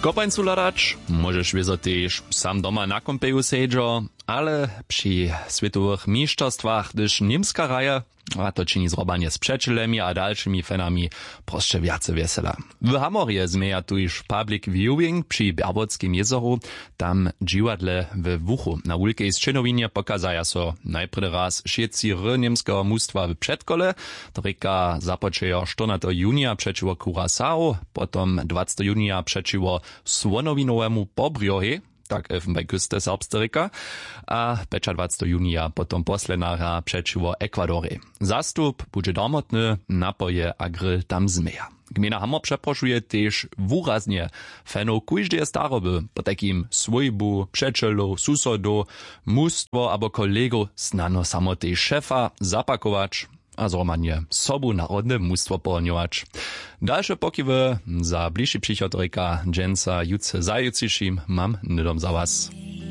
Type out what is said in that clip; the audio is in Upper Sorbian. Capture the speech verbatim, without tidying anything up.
Kopańcu hladać móžeš wězo tež sam doma na kómpeju sedźo, ale při swětowych mišćerstwach hdyž němska hraje, a to čini zrobanje z přećelemi a dalšimi fanami prosće wjace wjesela. W hamorje změja tuž public viewing při bjerwotskim jězoru, tam w dźiwadle we wuchu na wulkej sćěnowinje pokazaja so najprjedy raz wšětci hry němskeho mustwa w předkole. To rěka započejo štyrnateho junija přećiwo curacao, potom dwacteho junija přećiwo słonowinowemu pobrjohej, tak elfenbein küste serbsce rěka, a pjećadwacteho junija potom poslednja hra přećiwo ekwadorej. Zastup budźe darmotny, napoje a grill tam změja. Gmejna hamor přeprošuje tež wuraznje fanow kóždeje staroby, potajkim swójbu přećelow susodow, mustwo abo kolegow, snano samo tež šefa zapakować a zhromadnje sobu narodne mustwo pohonjować. Dalše pokiwy za bližši přichod rěka dźensa jutře za jutřišim mam hnydom za was.